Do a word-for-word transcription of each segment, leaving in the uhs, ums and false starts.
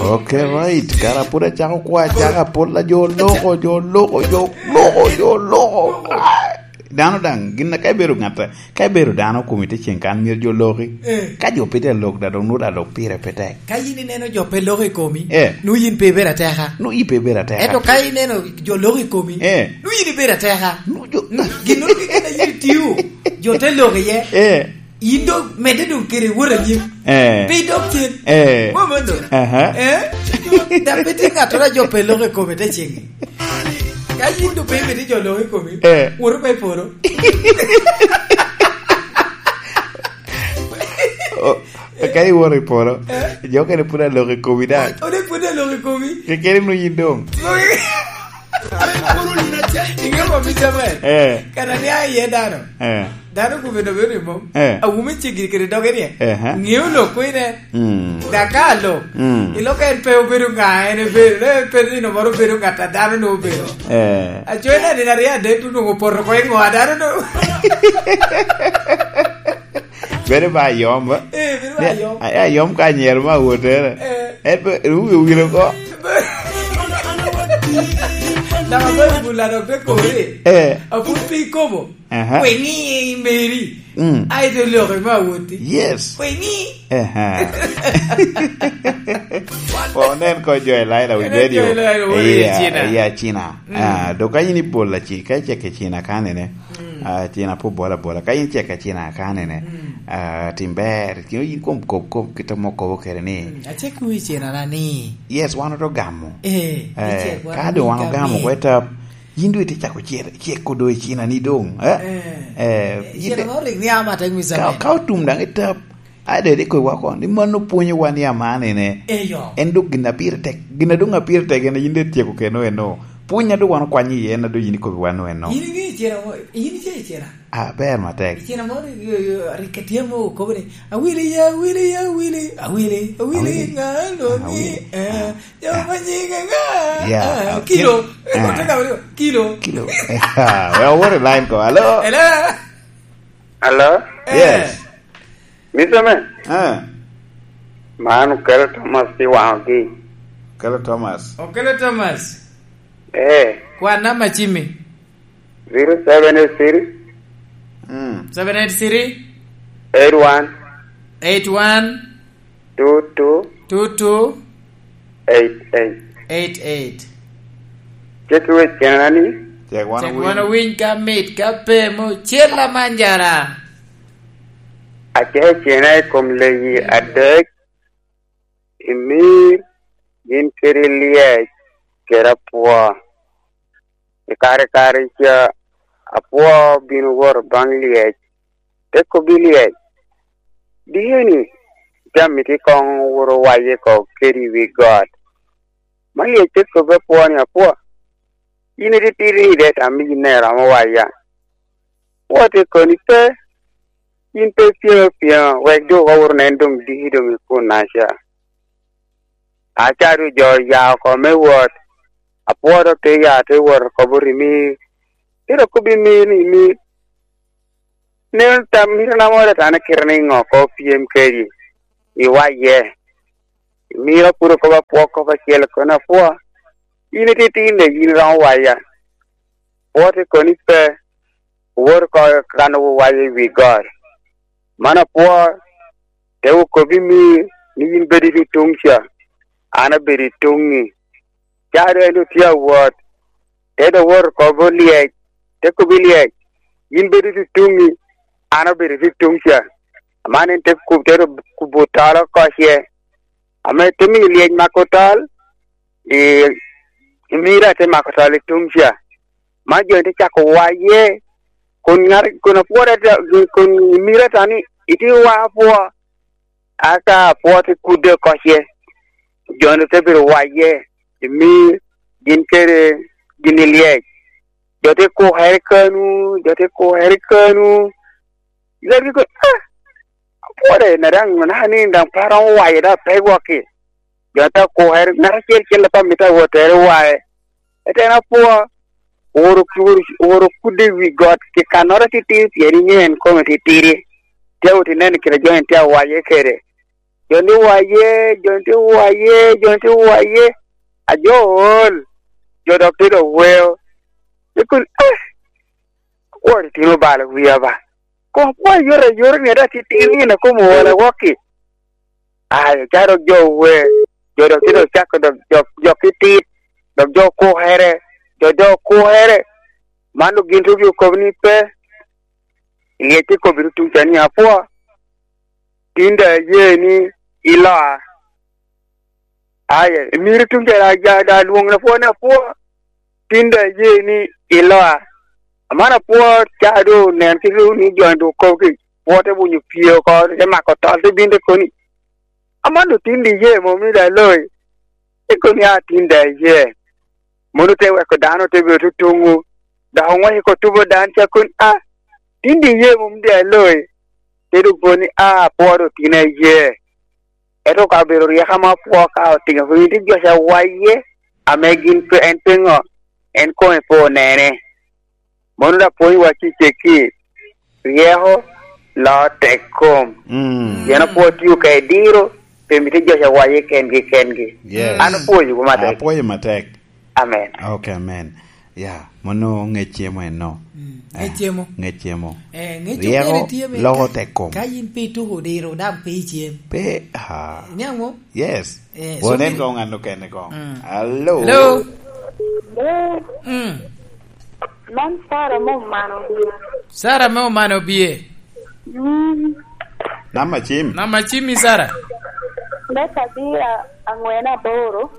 Ok, right. Kara pud acako kwa, acaka pol a jo loko, jo loko, jo loko, jo loko. Ah, dano daŋ, gin ka ibedo ŋat, ka ibedo dano komi te cen kan, myero jo loki. Eh. Ka jo pe tye alok, da dok nwoŋo alok pire pe tek. Ka yin ineno jo pe loko i komi, eh, nwoŋo yin pe ibedo ateka. Nwoŋo yin pe ibedo ateka. Ento ka ineno jo loko i komi, eh, nwoŋo yin ibedo ateka. Nwoŋo jo- Gin nwoŋo keken a yin itio, jo te loko iye. Eh. Yin dok medde dok kede wot anyim. Eh. Pe idok cen. Eh. Mom eno. Aha. Eh? Dok pe tye ŋattoro a jo pe loko i kome te ceŋi. Ka yin dok pe imito jo loko i komi, eh, wot oko i polo. O, ka iwot i polo, eh, jo okene pud aloko i komi daŋ. Ode pud aloko i komi. Kekeni nwoŋo yin doŋ. Inge mo mi Samuel? Eh. Kara ni a iye dano. Eh. Dano kome doŋ bedo i mom. Eh. Awumi cigiri kede doge ni. Eh, ha. Ŋeo lok kwene. Mm. Daka lok. Mm. Ilok en pe obedo ŋa, en obedo, en pe nino moro obedo ŋat a dano nwoŋo obedo. Eh. Aco en nino aryo adek tu nwoŋo opoto ko i ŋo a dano nwoŋo. Bedo ba ayom, ba? Eh, bedo ba ayom. Ni, a, ayom ka anyero ma awotere. Eh. En pe, ru-, wi-, owil oko. Dama ba ibula dok te kori. Eh. Apud pe ikobo. Aha. Kwe ŋi i meri. Mm. Ai to loko ma awoti. Yes. Kwe ŋi. Aha. Onen ko jo i Laila wi radio. Onen jo i Laila wi radio. Iya, Cina. Iya, Cina. Mm. Ah, dok ka in ibolo aci, ka icek i Cina kanene. Mm. Ah, Cina pe obolo abola. Ka in icek i Cina kanene. Mm. Ah, tim ber. Kino in kom kop, kop kit amo kobo kede ni. Mm. Acek wi Cina na ni. Yes, wan oto gamo. Eh, eh, icek wan ka doŋ wan ogamo kwe tap. Yin doŋ itye cako cer-, ceko doŋ i Cina ni doŋ, eh? Eh. Eh, eh, yin Cina de-, moro rik niaŋ amatek, Mister ka, Man. Ka otum daŋ i tap, ai, de rik kowa kono, ni mano pwonyowa ni amanene. Eyo. En dok gin a pire tek, gin a doŋ a pire tek en yin de tyeko keno eno. Pwony a doŋ wan okwanyo iye en a doŋ yin ikobi wan eno. Yin iŋeyo Cina mo-, yin ice i Cina? Ah, ber matek. I Cina moro, yo, yo, rik etye mo okobo ni, "Awili, ya, awili, ya, awili, awili, awili, awili. Ŋa lo ni, awili, eh, ah. Jo ma nyinge ŋa?" Yeah, ah, okay. Kilo. Eh, ah. Koteka wili, kilo. Kilo. Well, what a line call. Hello? Hello? Hello? Yes. Eh. Mister Man? Ah. Man Okelo Thomas i Waŋogi. Okelo Thomas. Okelo Thomas. Eh. Kwa namba cimi. Zero seven eight three. Mm. Seven eight three. Eight one. Eight one. Two two. Two two. Eight eight. Eight eight. Cek wec kenana ni. Cek wan owiny. Cek wan owiny ka mit, ka pe mo cel amanjara. Acecena i kom leyi adek, imir, gin kede lyec, kede apwo. I kare kare ca, apwo bino wot baŋ lyec, te kobbi lyec, "Dikeni, jami tye koŋ wuro waye oko kede i wi got." Ma lyec te kobbi apwo ni, "Apwo, yin ititidi ni de tam yin ne romo waya." Apwo te koni, "Pe, yin pe ipyem apyema, wek doŋ wawot onen doŋ diki doŋ i kunnaca." Aca doŋ jo oya oko me wot, apwo dok te ya te wot oko bot imir. Te dok kobbi imir ni, "Imir, nen tam mito na moro atane kite ni ŋo ko pyem kedi i waye." Imir apud okobo apwo kop acel kono, "Apwo, yin ititidi ni de yin iromo waya." Apwo te koni, "Pe, wot oko kan owaye i wi got." Man apwo te okobbi imir ni, "Yin bed i tuŋ ca, an abedo i tuŋi." Ca doŋ en doŋ tye awot, te doŋ wot oko bot lyec, te kobbi lyec, "Yin bed i tuŋi, an abedo i tuŋ ca." Aman en te kub-, te doŋ kubo tol oko ce. Ame te miyo lyec mako tol, i, imira te mako tol i tuŋ ca. Ma jo te cako waye, kun ŋat, kun apwod ata-, kun imira ta ni, "Itye wa apwo." Aka apwo te kudde oko ce, jo-nu te bedo waye, imir, gin kede gin i lyec. Jo te kukere kanu, jo te kukere kanu. Lega ko, "Ah, apwode, na daŋ, na ni daŋ pe aromo waye, daŋ pe gwokki." Jo te kukere, ŋat acel cel pe amito awotere waye. Ete en apwo, oworo, oworo, oworo kudde i wi got, ki kannoro titidi, pien iŋeo en kome titidi. Tye awot ineno kite jo en tye awaye kede. jo ni waye, jo ni waye, jo ni waye. A jo ool, jo dok te dok weo. Ikun, eh, akwor itino balo wia ba. Kom akwor yore, yore ni ada titir ni na kom ool awok-ki. Ayo, ca dok jo owe, jo dok te dok cako dok, dok, dok titit, dok jo okukere, jo, jo okukere. Man dok gin tugi okobo ni pe. Lyec ikobbi tutuŋ ca ni apwo. Tin da aye ni iloa. Aye, myero tuŋ ca da, da, da lwoŋ na pwo, na pwo. Tin da aye ni iloa. Aman apwo ca do nen ki ru ni jony do kop ki pwo te bunyo pie oko, te mako tol, te bin te koni. Aman do tin da iye mom ni da loi. Te koni a tin da iye. Mono te weko dano te bedo tutuŋu. Dok oŋwec oko tubo dan ca koni, a, tin da iye mom da loi. Te dok koni, a, apwo do tin aye. Ento ka obedo ryeko ame apwo ka otino, pwony te joc awaye, ame gin pe, en pe ŋo, en kome pe onene. Mono da pwony wa cicekki, ryeko, loo tek kom. Mm. Pien apwo tio ka i diro, pe mito joc awaye kengi, kengi. Yes. An apwoyo wu matek. Apwoyo matek. Amen. Ok, amen. Ya, mono ŋec cemo eno. Mm, ŋec cemo. Eh, ŋec cemo. Eh, ŋec cemo. Ryeko, okene tye me loko ka, tek kom. Ka yin pe ituko diro, dam pe icem. Pe, ha. Niaŋ mo? Yes. Eh, wanen so koŋ an okene koŋ. Mm. Hello? Hello? Hello? Mm. Man Sara mo mano bie. Sara mo mano bie. Mm. Namba cim? Namba cim i Sara? Me kabira angwen aboro.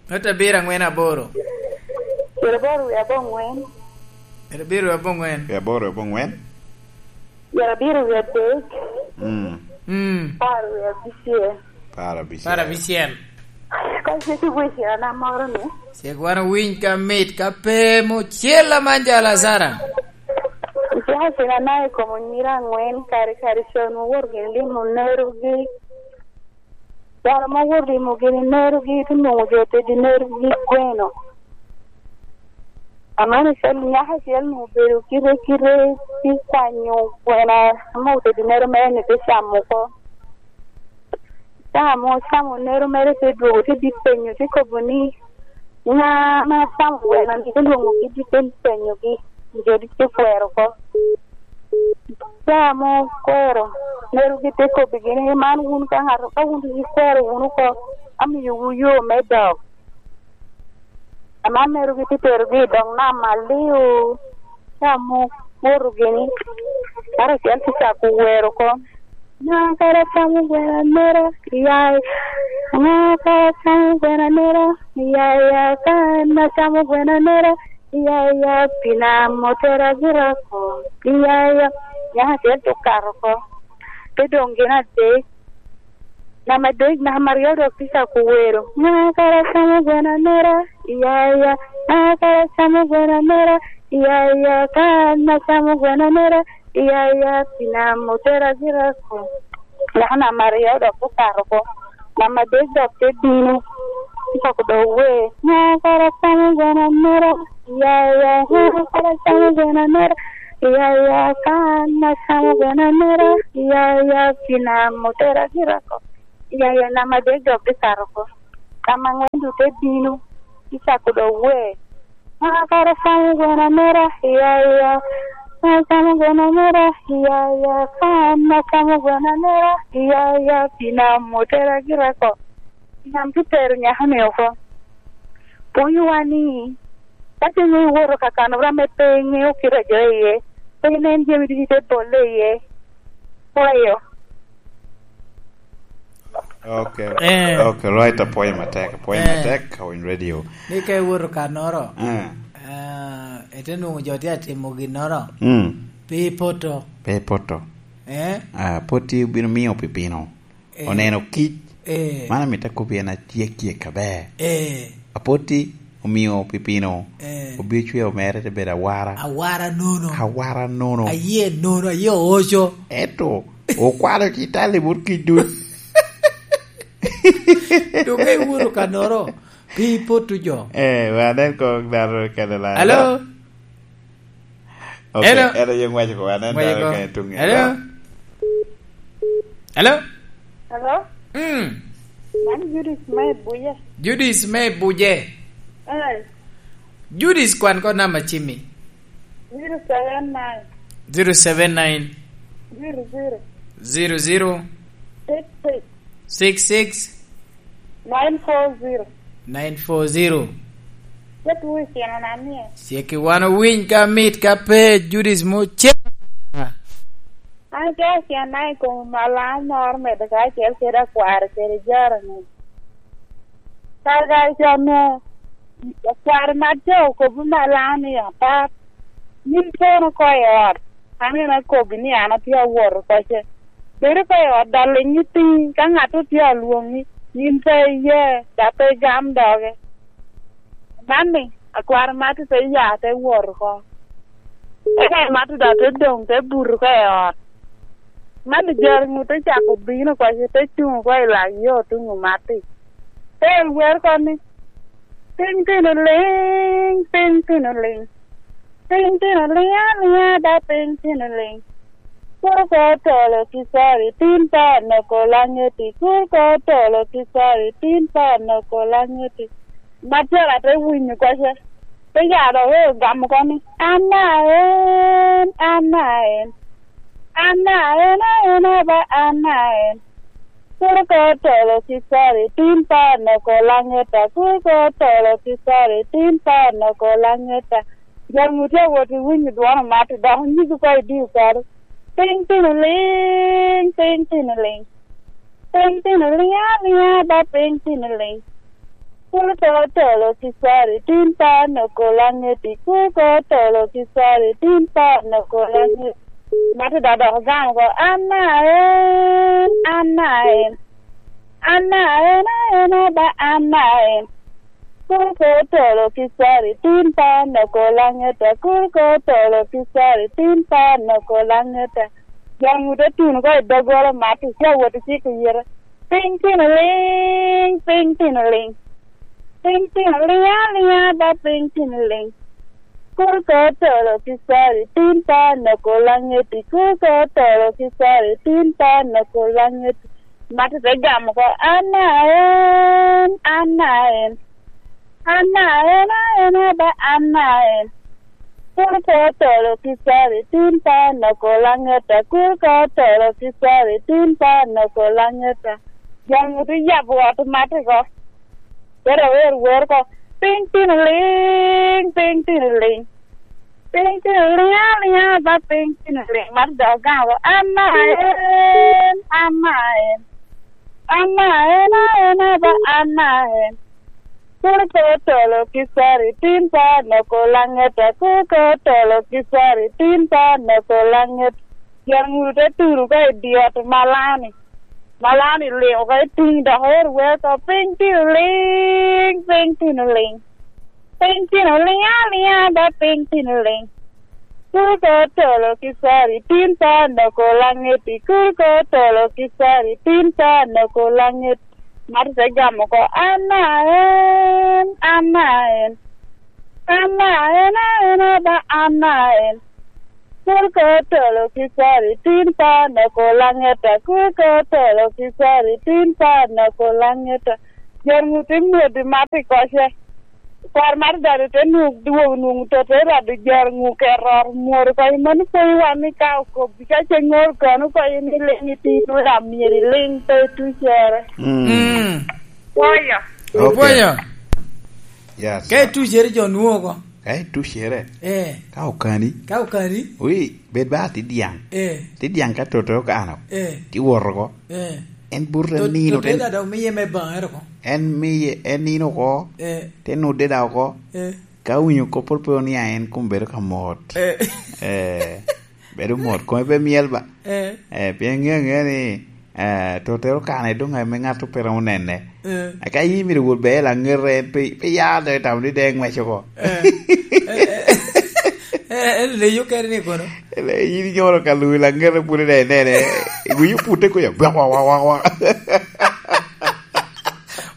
Ngat abiro angwen aboro. Pyeraboro wiye abongwen. Pyerabiro wiye abongwen. Pyeraboro wiye abongwen. Pyerabiro wiye adek. Mm. Mm. Apar wiye abicel. Apar abicel. Apar abicel. Ka cik iwicina moro ni. Cik wan owiny ka mit ka pe mo cel aman jala Sara. Iciko cina na i kom onyira angwen kare kare con owoto gin limo nerogi. Dano ma owoto limo gini nerogi, te nwoŋo jo tedi nerogi gweno. Aman ocel nyako acel ni obedo kite kite, te kwanyo gweno ame otedi nero mere ni te camo oko. Camo, camo nero mere te dwogo, te dit penyo, te kobo ni, "Ŋa ame acamo gweno ni?" Te lwoŋo kit te penyogi, jo dit te kwero oko. Camo kwero, nerogi te kobbigi ni, "Man wun ka ŋato, ka wun ikwero wunu oko, amiyowu yo me dok." Aman nerogi te terogi i dog nam alio, camo kwoto gini, ngat acel te cako wero oko, "Ŋa kara camo gweno anera, iya, iya, ŋa kara camo gweno anera, iya, iya, ka en acamo gweno anera, iya, iya, pina motera gira oko, iya, iya." Nyako acel te okato oko, te doŋ gin adek. Namba adek, namba aryo dok te cako wero, "Ŋa kara camo gweno anera, iya, iya, ŋa kara camo gweno anera, iya, iya, ka an acamo gweno anera, iya, iya, pina motera gira oko." Nyako namba aryo dok okato oko. Namba adek dok te bino, te cako dok wer, "Ŋa kara camo gweno anera, iya, iya, ŋa kara camo gweno anera, iya, iya, ka an acamo gweno anera, iya, iya, pina motera gira oko." Iya, iya, namba adek dok te kato oko. Namba angwen dok te bino, te cako dok wer, "Ŋa kara camo gweno anera, iya, iya, ŋa camo gweno anera, iya, iya, ka an acamo gweno anera, iya, iya, pina motera gira oko." Nam te tero nyako-ni oko. Pwonyowa ni, ka ce iŋeo iwoto ka kano ram me pe iŋeo kite a jo iye, pe inen jami ducu ite bolle iye. Pwoyo. Ok. Eh. Ok, right, apwoyo matek, apwoyo Eh. matek, Kawiny Radio. Ni ka iwoto kanoro, Eh. ah, ite nwoŋo jo tye atimo ginnoro, Mm. pe ipoto. Pe ipoto. Eh? Ah, poti obino miyo pipino. Eh. Oneno kic. Eh. Man amito akobbi en atyek tyek aber. Eh. Apoti omio pipino. Eh. Obio cweo mere te bedo awara. Awara nono. Awara nono. Aye nono, aye oco. Eto, okwalo ci tali but kic duc. Dong ka iwoto kanoro, pe ipotu jo. Eh, wa nen kong dano kene la. Hello? Ok, Hello? Eno yung waco ko, wan en Waco dano ko. Kene tung. Hello? Hello? Hello? Mm. Man Judith me Buje. Judith me Buje. Eh. Judith, kwan ko namba cimmi. Zero seven nine. Zero seven nine. Zero zero. Zero zero. Six six. Six six. Nine four zero. Nine four zero. Cek wi tino na mie. Cek i wan owiny ka mit ka pe Judith mo cek. An ca ocenna i kom Malam moro medo kacel kede akware kede jaro-ni. Kare ca onwoŋo akware mat ca okobbi Malam ni, "Apat, yin kono oko i ot, an en akobbi ni an atye awot oko ce. Bed oko i ot, dok liŋ itiŋ, ka ŋat otye alwoŋi, yin pe iye, dok pe igam doge." Man-ni, akwar Mati te ya, te wot oko. Eka Mati daŋ te doŋ, te buto oko i ot. Man-ni jari ŋut te cako bino oko, te cuŋ oko i lak yo tuŋ Mati. Te wer oko ni, "Piny tino liŋ, piny tino liŋ. Piny tino liŋ aliŋa, da piny tino liŋ. Kur ko tolo ki sori, tin pa noko laŋeti. Kur ko tolo ki sori, tin pa noko laŋeti." Matera te winyo koca, te ya dok eo gamo oko ni, "An a en, an a en, an a en, aen aba an a en. Kur ko tolo ki sori, tin pa noko laŋeta. Kur ko tolo ki sori, tin pa noko laŋeta." Jami otye awot i winyo dwono Mati, dok onyiko oko i dii kare. "Piny tino liŋ, piny tino liŋ. Piny tino liŋ aliŋa, ba piny tino liŋ. Kur ko tolo ki sori, tin pa noko laŋeti. Kur ko tolo ki sori, tin pa noko laŋeti." Mati daŋ dok ogamo oko, "An a en, an a en. An a en, aen aba an a en. Kur ko tolo ki sori, tin pa noko laŋeta. Kur ko tolo ki sori, tin pa noko laŋeta." Jami te tuno oko i doggola Mati, tye awot i ciko yite. "Piny tino liŋ, piny tino liŋ. Piny tino liŋ aliŋa, ba piny tino liŋ. Kur ko tolo ki sori, tin pa noko laŋeti. Kur ko tolo ki sori, tin pa noko laŋeti." Mati te gamo oko, "An a en, an a en. An a en, aen aba an a en. Kur ko tolo ki sori, tin pa noko laŋeta. Kur ko tolo ki sori, tin pa noko laŋeta." Jami te yabo ot Mati oko. Te dok wer wer oko, "Piny tino liŋ, piny tino liŋ. Piny tino liŋ aliŋa, ba piny tino liŋ." Mati dok ogamo oko, "An a en, an a en. An a en, aen aba an a en. Kur ko tolo ki sori, tin pa noko laŋeta. Kur ko tolo ki sori, tin pa noko laŋeta." Jami te tuno oko i dye ot Malani. Malani liŋ oko i tuŋ dok ero wer oko, "Piny tino liŋ, piny tino liŋ. Piny tino liŋ aliŋa, ba piny tino liŋ. Kur ko tolo ki sori, tin pa noko laŋeti. Kur ko tolo ki sori, tin pa noko laŋeti." Mati te gamo oko, "An a en, an a en. An a en, aen aba an a en. Kur ko tolo ki sori, tin pa noko laŋeta. Kur ko tolo ki sori, tin pa noko laŋeta." Jari ŋut i mwodi Mati koce. Kwar Mati dado te nwoŋo dwogo nwoŋo to te rado jari ŋu keto ot mwodi oko. I mano pwonyo wan ni ka okobbi ka ce ŋor kono oko ni liŋ iti nwoŋo lam myero iliŋ pe tucere. Mm. Mm. Pwoyo. Okay. Pwoyo. Yes. Ka itucere jo nwoŋo oko. Ka itucere. Eh. Ka okani. Ka okani. Wi, bed ba ti diaŋ. Eh. Ti diaŋ ka toto okano. Eh. Ti wot oko. Eh. En buto te nino, te da dok miye me baŋe oko. En miye, en nino oko. Eh. Te nudde da oko. Eh. Ka winyo kop pol pe onia en kun bedo ka mot. Eh. Eh. Bedo mot, kome pe myel ba. Eh. Eh, pien ŋeo ŋeo ni, eh, totere okane doŋ ame ŋat pe romo nene. Eh. Aka yin myero wot bene laŋete, en pe, pe ya dok i tamo ni dee ŋwec oko. Eh. Eh, eh, eh, eh, leyo kene ni kono? Ele, yin inyolo ka luwi laŋete pwod dee nene. Iwinyo pute kuya, bwak, wak, wak, wak, wak.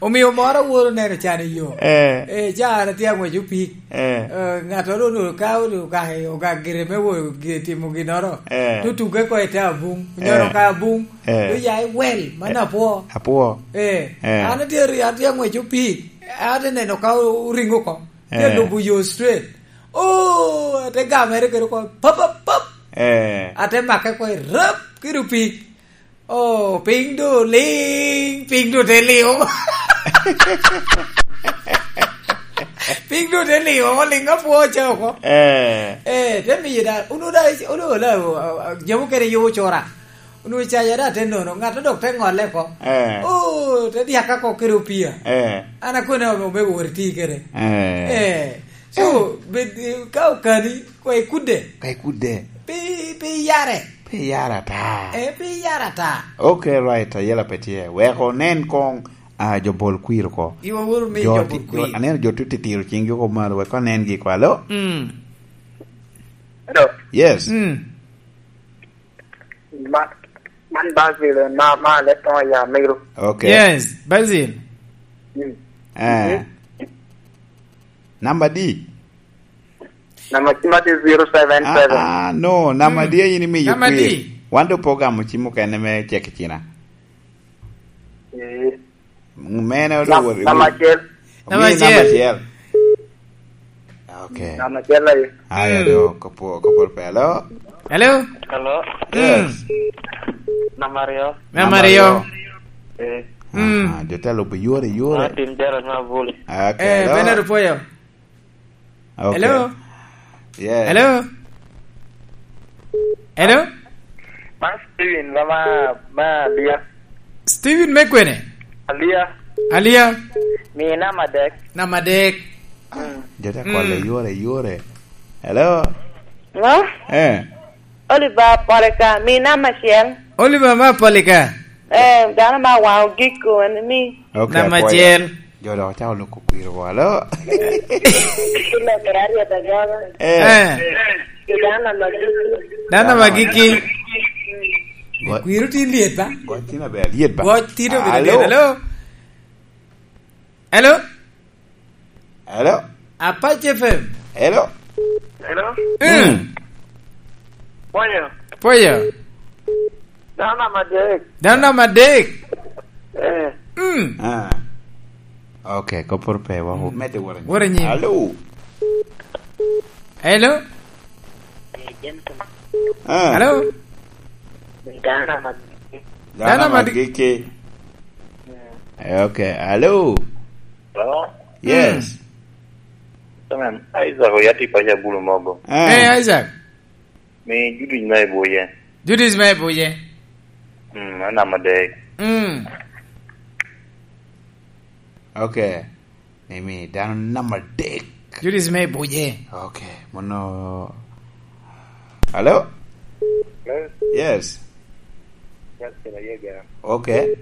Omio moro woro neno can i yo. Eh. Eh, ca an atye ang'wec opik. Eh. Eh, ŋattoro onwoŋo ka onwoŋo ogak, ogak gire me wo-, gi-, timo ginnoro. Eh. To tuke ko i te abuŋ. Onyero Eh. ka abuŋ. Eh. To ya i wel, man Eh. apwo. Apwo. Eh. Eh. An atye, an atye ang'wec opik. An atye neno ka o-, oringo oko. Tye Eh. lubo yo straight. Oh, ate gamere kede oko. Pap, pap, pap. Eh. Ate make oko i rap, kede opik. Oh, piny do liŋ, piny do te liŋ. Piny do te liŋ, liŋ apwo ca oko. Eh. Eh, te miyo da, unu da, unu da, uh, uh, jamu kede yo cora. Unu caja da te nono, ŋat dok te ŋolle ko. Eh. Oh, te diaka ko kede opia. Eh. An akone omego wot iti kede. Eh. Eh. So, bed, ka okani, kwa ikudde. Ka ikudde. Pi, pi yare. Pi yare ata. Eh, pi yare ata. Okay, right, ayela pe tye. Wek onen kong, ah, jo bol kwir oko. Iwa wuru mi Jo jo ti-, bol kwir. jo, aneno jo tye titiro cinggi oko malo, wek onen gi kwa. Alo? Mm. Hello. Yes. Mm. Ma-, man Basil, ma, ma Leton ya Miru. Okay. Yes, Basil. Mm. Eh. Mhm. Namba di? Namba cima tye zero seven seven. Ah, ah, no, namba Mm. di a in imiyo Namba kwir? di? Wan do program cim okene me cek i cina. Eh. Mene odo Nam-, wot i namba wi-, acel. Namba omiyi namba acel. acel. Okay. Namba acel aye. Aya Mm. do, kopo, kopo pe. Hello? Hello? Hello? Yes. Mm. Namba aryo. Namba Namba aryo. aryo. Eh. Mm. Aha, jo te lubo yore, yore. Martin Jara Mabuli. Okay, Eh, hello? Bernard Opoyo. Okay. Hello? Yes. Hello? Hello? Man Steven, ma, ma, ma Alia. Steven me kwene? Alia. Alia. Mi namba adek. Namba adek. Mm. Jo te kwalo Mm. yore, yore. Hello? Ngo? Eh. Oliver Polika, mi namba acel. Oliver ma Polika. Eh, dano ma waŋ ogiko, en mi. Okay, Namba apwoyo. acel. Jo dok ocako loko kwir walo. Kilo kede aryeta goba. Eh. Eh. Dano ma giki. Dano ma giki. Go-, Kwir otin lyet ba? Goc tin aber, lyet ba? Goc tin obedo Alo? lyet. Hello? Hello? Hello? Apache F M. Hello? Hello? Mm. Mm. Pwoyo. Pwoyo. Dano namba adek. Dano namba adek. Eh. Mm. Ah. Okay, kopor pe wa, mm, medde wora nyim. Wora nyim. Hello. Hello. Ah. Hello. Dano namba adek. Dano namba adek. Eh, okay. Hello. Hello. Yes. Mm. Amen. Isaac oyati pacha bulu mogo. Ah. Eh, Isaac. Mi Judith me Ibuye. Judith me Ibuye. Mm, en namba adek. Mm. Okay. Emi dano namba adek. Judith me Ibuye. Okay. Mono. Hello? Hello? Yes. Yes, kina yega. Okay.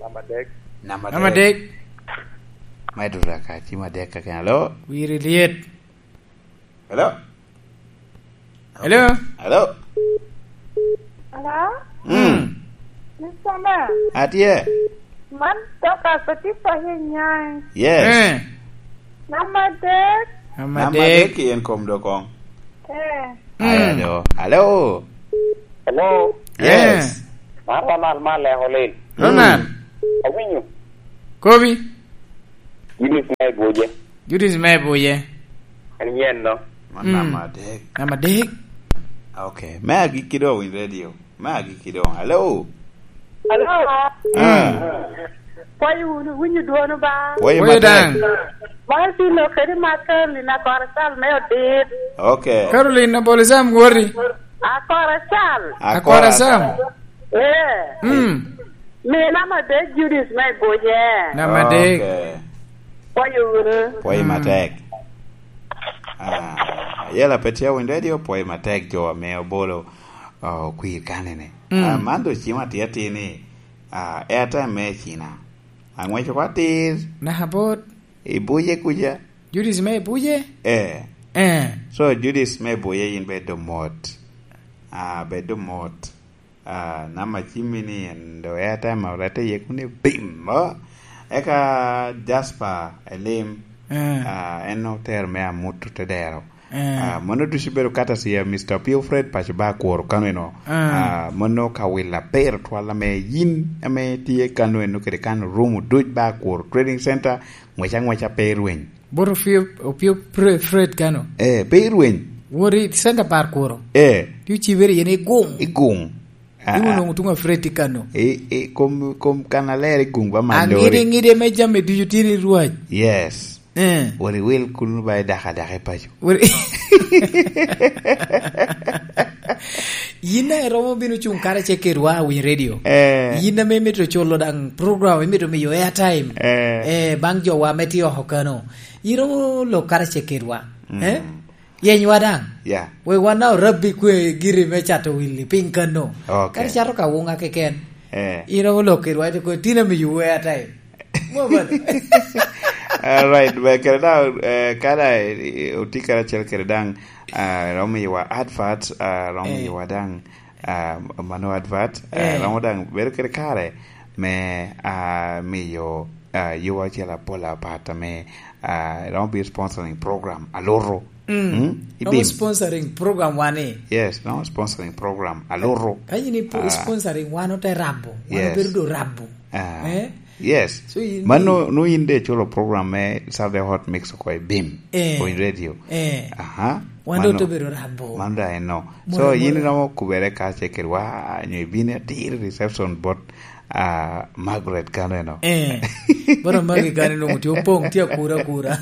Namba adek. Namba adek. Namba adek. Mae dura ka, ci ma adek ka kena. Hello? Wiri lyet. Hello? Hello? Hello? Hello? Mm. Mm. Mister Man. Atye. Man Dorcas Atipa Hinyai. Yes. Eh. Namba adek. Namba Namba adek. Adek i en kom do kong. Eh. Aya Mm. do. Hello? Hello? Yes. Eh. Man Ronald Malek Olil. Ronald. Mm. Awinyo. Kobi. Judith me Ibuye. Judith me Ibuye. En yen no. Man Mm. namba adek. Namba adek. Okay. Me agikki do winy radio. Me agikki do. Hello? Hello? Ah. Mm. Pwoyo wunu, winyo dwono ba? Pwoyo Pwoyo matek. Daŋ. Mar tye lok kede mar Caroline Akora Cal me Odit. Okay. Caroline Aboli Sam wori. Akora Cal. Akora Akora Sam. Sam. Eh. Mm. Mi namba adek Judith me Ibuye. Namba adek. Okay. Pwoyo wunu. Pwoyo Mm. matek. Ah, yela pe tye winy radio, pwoyo matek jo ame obolo, ah, okwir kanene. Mm. Ah, man do cim atir atir ni, ah, airtime me Cina. Ang'weco ko atir. Naka bot. Ibuye kuca. Judith me Ibuye? Eh. Eh. So, Judith me Ibuye yin bedo mot. Ah, bedo mot. Ah, namba cimmi ni en do airtime orette iye kun ibimo. Eka Jasper Elim, Eh. ah, en otero me amut te dero. Eh. Ah, mano ducu bedo kata sia, Mister Pio Fred paco ba Akworo kano eno. Eh. Ah, mano ka willa pero twal ame yin ame tye kano eno kede kano room oduc ba Akworo Trading Center, ngwec angweca pe irweny. Bot Opio, Opio Pre-, Fred kano? Eh, pe irweny. Wot i center bar Akworo. Eh. Ti ocibere yen i gung. I gung. Ah, Iwu ah. Nwoŋo tuŋ a Fred tye kano. I, i, kom, kom kan aler i gung ba man Aŋide, lori. Ŋide me jami ducu tye ni rwac. Yes. Eh. Wot iwil kun ba idaka daka i paco. Wot i-, yin a iromo bino cuŋ karacel kedwa a Winy Radio. Eh. Yin ame imito culo daŋ program, imito miyo airtime. Eh. Eh, baŋ jowa ame tye oko kano. Iromo lok karacel kedwa. Mm. Eh? Yenywa daŋ. Yeah. Wek wan daŋ orabbi kwe giri me cato willi piny kano. Okay. Kadi cato ka wuŋa keken. Eh. Iromo lok kedwa, ite kwe, "Tin amiyo airtime." Mo bal. All right, ba kere daŋ, eh, kada, eh, oti karacel kede daŋ, ah, romo yiwa advert, ah, romo Eh. Yiwa daŋ, ah, mano advert, eh, Eh. Romo daŋ bedo kede kare me, ah, miyo, ah, yowa acel apol apat ame, ah, romo bino sponsoring program aluto. Mm. Mm? Romo ibim. Sponsoring program wan ni. Yes, romo sponsoring program aluto. Ka yin ipo-, Ah. Sponsoring wan ote rabo, wan Yes. Obedo do rabo. Ah. Eh? Yes. So, yin Man i- no, no yin de iculo program me Saturday Hot Mix oko i bim, Eh. Point Radio. Eh. Aha. Wan Mano, ote bedo rabo. Man da eno. Moro, So, yin moro. Iromo kubere ka ce kedwa, nyo ibino atir reception bot, ah, Margaret kano eno. Eh. Bot Margaret kano eno, tye opoŋ, tye akura, akura.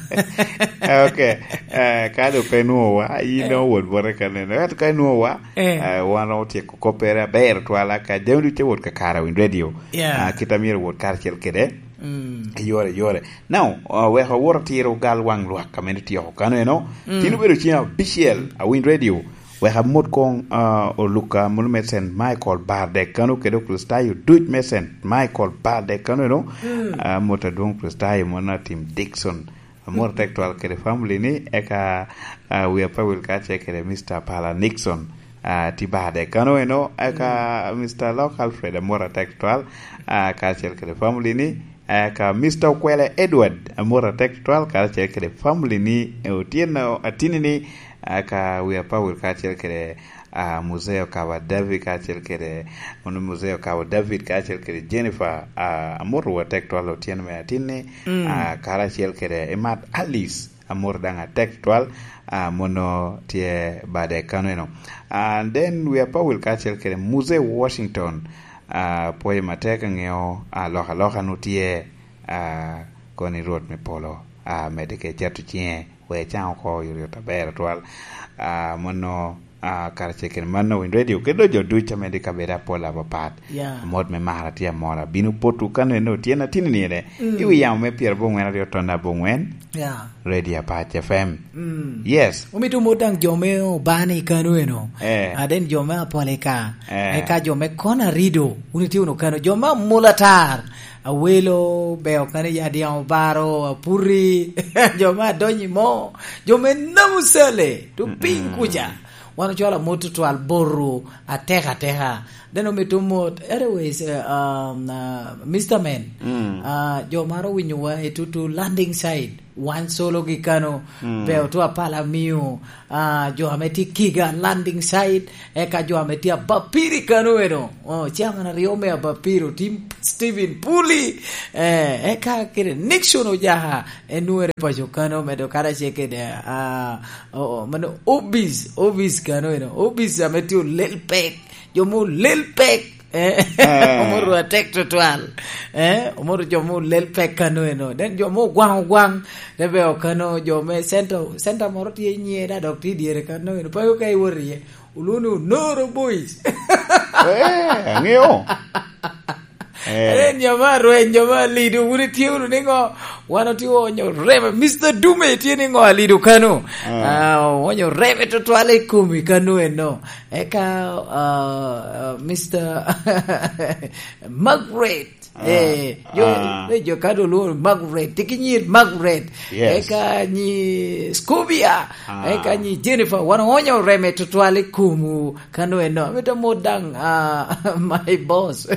Okay. Eh, ka do pe nwowa, yin Eh. Iromo wot bote kano eno. Ento ka inwowa, Eh. Eh, wan otyeko koppere aber twala ka jami ducu wot kakare a Winy Radio. Yeah. Ah, kit a myero wot karacel kede. Mm. I yore, yore. Now, ah, wek awot atiro gal waŋ lwak ame tye oko kano eno. Mm. Tin obedo ceng abicel a Winy Radio. Wek amot koŋ, ah, Oluka mulu me Saint Michael Bardek kano kede Okricitayo duc me Saint Michael Bardek kano eno. Mm. Ah, amot adwoŋ Okricitayo mono Atim Dixon. Amor tek twal kede family ni, eka, ah, wi apawil kacel kede Mister Pala Nixon, ah, tye bade kano eno, eka Mister Lok Alfred amor atek twal, ah, kacel kede family ni, eka Mister Okwele Edward amor atek twal, kacel kede family ni, eh, Otyeno Atini ni, eka wi apawil kacel kede ah, Muzeo Kaba David kacel kede, ono Muzeo Kaba David kacel kede Jennifer, ah, amoto wa tek twal Otyeno me Atinni, Mm. ah, karacel kede Imat Alice, amoto daŋ atek twal, ah, mono tye bade kano eno. Ah, then wi apawil kacel kede Muzeo Washington, ah, pwoyo matek aŋeo, ah, lok aloka nu tye, ah, koni Rwot me polo, ah, medde ke cato ciŋe, wek ecaŋ oko oyotoyot aber atwal. Ah, mono, ah, karacel kede mano Winy Radio, kede jo ducu ame tye i kabedo apol apapat. Yeah. Amot me mara tye amora. Bino potwu kano eno Otyeno Atini ni ene. Mm. I wi yamo me pyerabongwen aryo ton abongwen. Yeah. Radio Apac F M. Mm. Yes. Omito mot daŋ jo me Obani kano eno. Eh. Ah, then jo me Apolika. Eh. Eka jo me Kona Rido. Wun itye wunu kano. Jo me Amulatar. Awelo, Beo kani Yadiaŋ Obaro, Apuri, jo me Adonyi Mo, jo me Namusale, to piny Mm-mm. Kuca. Wan ocwalo amot tutwal boto atek ateka. Then omito mot, anyways, eh, um, uh, Mister Man, Mm. uh, jo maro winyowa i tutu landing side. Wan sologi kano, Mm. Beo to apala miyo, ah, jo ame tye Kiga landing side, eka jo ame tye Abapiri kano eno. Oh, chairman aryo me Abapiri, Tim Steven Puli. Eh, eka kede Nixon Ojaha, enwere paco kano, medo karacel kede, ah, oh, oh, mano obis, obis kano eno. Obis ame tye olel pek, jo mo olel pek. Eh, Eh. Omoro atek tutwal. Eh, omoro jo mo lel pek kano eno. Then jo mo ogwaŋ ogwaŋ. Te be okano jo me center, center moro tye i nyiye da dok tye i dyere kano eno. Pa yo ka iwot iye. Olwoŋo ni Onoro Boys. Eh, ang'eyo. Eh. Then jo ma rweny, jo ma lido, wun itye wunu ni ŋo? Wan otye onyo reme. Mister Dume tye ni ŋo alido kano? Eh. Ah, onyo reme tutwal i komi kano eno. Eka, ah, ah, Mister Margaret. Eh, jo, ah, eh, jo ka do lworo Margaret, tye ki nyir Margaret. Yes. Eka nyi Scobia, ah, eka nyi Jennifer, wan oonyo reme tutwal i komwu kano eno. Amito mot daŋ, ah, my boss.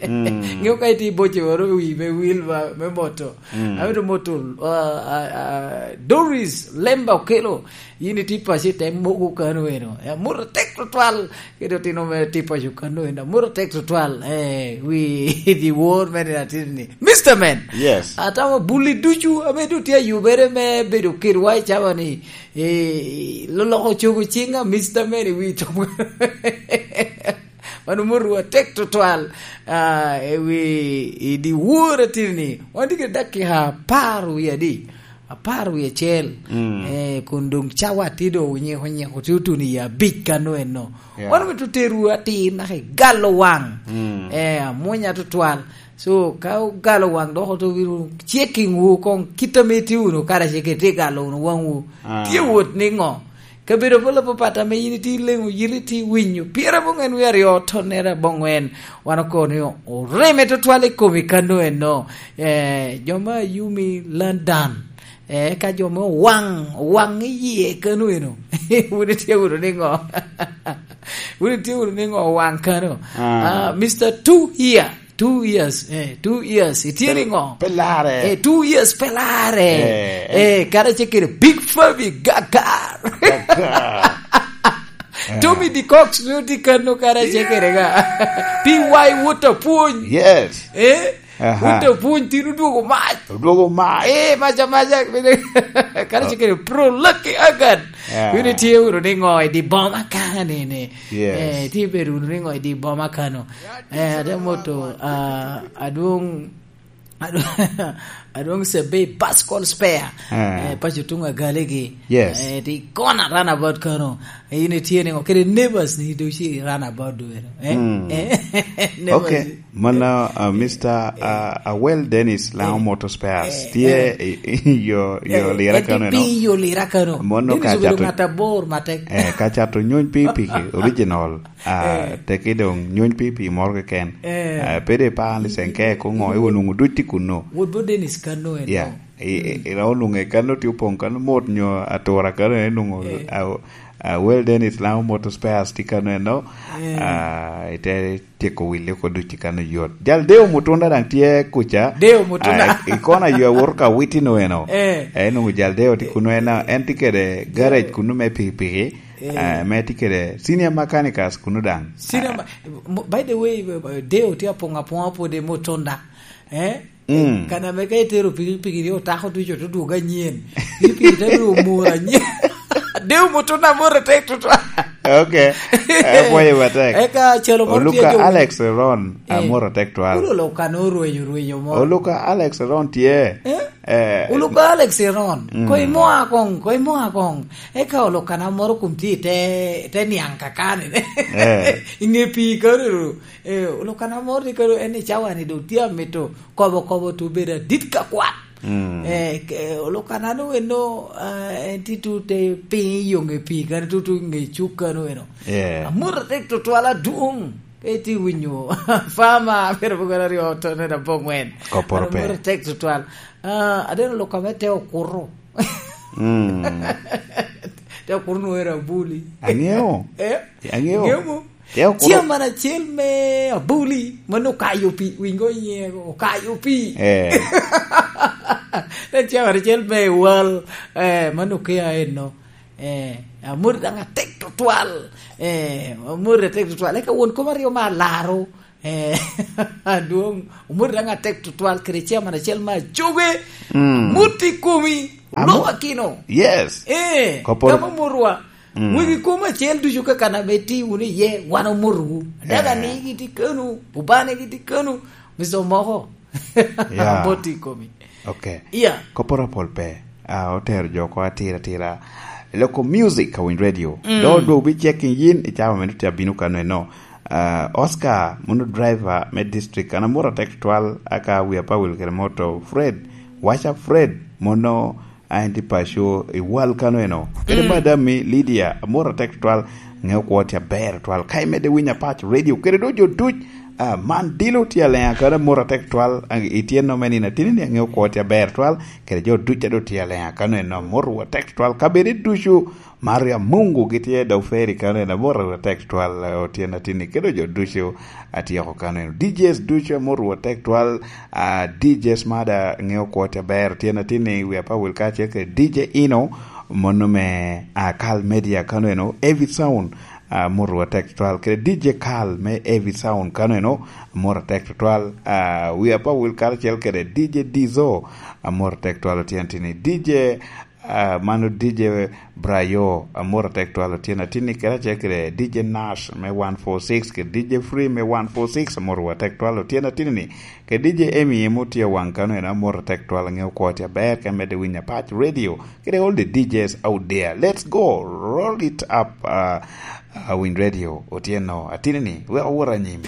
Mm. Ŋeo ka itye i boce woro wi me wil ma, me moto. Mm. Amito mot, ah, ah, ah, Doris Lemba Okelo. Yin itye paco i te mogo kano eno. Eh, amut atek tutwal. Kede otino mere tye paco kano eno. Amut atek tutwal. Eh, wi the world man in atini. Mister Man. Yes. Atamo buli ducu, ame doŋ tye ayubere me bedo kedwa i cawa ni, eh, loloko cogo ciŋa, Mister Man, i wi cogo. Wan omotwu atek tutwal, ah, i wi, i dyewor atini. Wan tye kede dakika apar wie adi? Apar wie acel. Mm. Eh, kun doŋ cawa tye doŋ onyeko, onyeko tye otuno i abic kano eno. Yeah. Wan omito terowu atir naka i galo waŋ. Mm. Eh, amwonya tutwal. So, ka ogalo waŋ dok oto bino checking wu koŋ kit ame itye wunu karacel kede tye galo wunu waŋwu. Ah. Tye wot niŋo? Kabedo apol apapat ame yin itye leŋo, yit itye winyo, pyerabongwen wie aryo, tonnere abongwen, wan okobo ni oreme tutwal i komi kano eno. Eh, jo ma Yumi London, eh, ka jo ma owaŋ, owaŋ i yie kano eno. Wun itye wunu niŋo? Wun itye wunu niŋo owaŋ kano? Ah. Ah, Mister Two here. Two years, eh, two years. Itye niŋo? Pe larre. Eh, two years pe larre. Eh, eh, kara ce kede Big Fabi Gakar. Gakar. Eh. Tommy D Cox no tye kano kara ce kede ga. P Y Wot Apwony. Yes. Eh? Aha. Wot Apwony tin odwogo mac. Odwogo mac. Eh, maca, maca. Kara ce kede Pro Lucky Agan. Yeah. Wun itye wunu niŋo i di boma kano ni, ni? Yes. Eh, itye bedo wunu niŋo i di boma kano? Eh, ate moto, ah, adwoŋ, adwoŋ, adwoŋ Sebei Pascal Spare. Ah. Eh, paco tuŋ Agalegi. Yes. Eh, ti kona runabout kano. Eh, in itye niŋo? Kede neighbors ni doŋ ci runabout duwero. Eh? Mm. Eh, neighbors. Okay. Mano, ah, Mister, ah, Awel Dennis Laŋo Motor Spares. Eh, tye, eh, i, i, yo, yo, eh, lira en tye kano, no? Piny yo lira kano. Mono Dennis ka obedo cato, ŋat abor matek. Eh, ka cato nyony pikipiki original. Ah, eh, teke doŋ nyony pikipiki moro keken. Eh. Ah, pe de pa ni senke ko ŋo, iwo nwoŋo duc tye kunno. Wot bo Dennis kano eno. Yeah. I, i, i, ira onwoŋo kano tye opoŋ kano mot nyo atura kano eno nwoŋo, eh, a, a, Well Dennis Laŋo Motor Spares tye kano eno. Eh. Ah, ite tyeko wille oko duc kano yot. Jal Deo Mutunda daŋ tye kuca. Deo Mutunda. Ah, i, i kona yo awoto ka witino eno. Eh. Eh, nwoŋo jal Deo tye kunu en, en tye kede garage kunu me pikipiki. Eh. Ah, me tye kede senior mechanicals kunu daŋ. Senior, ah, ma-, mo-, by the way, eh, Deo tye apoŋ apoŋa pwod i Mutunda. Eh? Mm. Kan ame ka itero pikipiki ni otako ducu to dwogo anyen. Pikipiki te biro omoro anyen. Deo Mutunda amoro tek tutwal. Okay. Eh, pwoyo matek. Eka calo moro tye Oluka jo Alex Ron, eh, amoro tek twal. Olo Oluka no rwenyo, rwenyo mo. Oluka Alex Ron tye. Eh? Eh. Oluka Alex Ron. Mm. Ko imo akoŋ, ko imo akoŋ. Eka Oluka na moro kum tye te, te niaŋ kakani. Eh. Inge pii karuru. Eh, Oluka na moro ni karo en i cawa ni doŋ tye amito kobo kobo to bedo adit ka kwat. Mm. Eh, ke-, Oluka na no eno, ah, en tye tu te piny i yo ŋe pii kano, tu, tu ŋe cuk kano eno. Yeah. Amoro tek tutwal adwoŋ. Ka itye winyo, fama, pero bukara ryo to ne da bongwen. Koporo pe. Amoro tek tutwal. Ah, adeno Oluka me te okuto. Mm. Te okuto no era buli. Angeo. Eh? Angeo. Ngeo mo? Te okuto. Chairman acel me Abuli, mano okayo pi, wingo iye, okayo pi. Eh. Te chairman acel me Wal, eh, mano kia eno. Eh, amor daŋ atek tutwal. Eh, amor atek tutwal. Eka won koma ryo ma alaro. Eh, adwoŋ, omoti daŋ atek tutwal kede chairman acel me Ajoge. Mm. Amut i komi, Amo-, Olok Akino. Yes. Eh, Koporo. Kama omotwa. Mm. Wegi kom acel ducu ka kan ame ti wunu iye, wan omotowu. Daga, eh, ni giti kanu, obane giti kanu, mister Omoko. Yeah. Amot i komi. Okay. Yeah. Koporo apol pe. Ah, otero jo oko atira atira. Loko music ka winy radio. Mm. Do dwogo bi checking yin i cawa meno tye abino kano eno. Ah, Oscar, mono driver me district, an amoro atek tutwal, aka wi apawil kede moto, Fred, waca Fred, mono a en tye paco i wal kano eno. Kede, mm, madam mi Lydia, amoro atek tutwal, ŋeo kwo tye aber tutwal. Ka imedde winyo apac radio, kede do jo duc, Ah, man dilo tye alenya kano, amor atek twal. Ah, itye no me nino atini ni, angeyo kwo tye aber twal, kede jo duca do tye alenya kano eno, amor atek twal. Kabede ducu, Maria Mungu gitye da oferi kano eno, amor atek twal, eh, otyen atini, kede jo ducu atyeko kano eno. D Js ducu, amor atek twal. Ah, D Js mada, angeyo kwo tye aber, otyen atini, wi apa wil ka ce ke D J Ino, mono me, ah, Kal Media kano eno, Evi Sound, ah, amor atek twal. Kede D J Carl me Evi Sound kano eno, amor atek twal. Ah, wi apa wil karacel kede D J Dizo, amor atek twal otyen tini. D J, ah, mano D J Brayo, amor atek twal otyen atini. Kede acel kede D J Nash me one four six, kede D J Free me one four six, amor atek twal otyen atini ni. Kede D J Emi emu tye waŋ kano eno, amor atek twal, angeyo kwo tye aber, ka medde winyo Apac Radio. Kede all the D Js out there. Let's go. Roll it up, uh, uh, Win Radio. Otyeno, atini ni, wek owot anyim.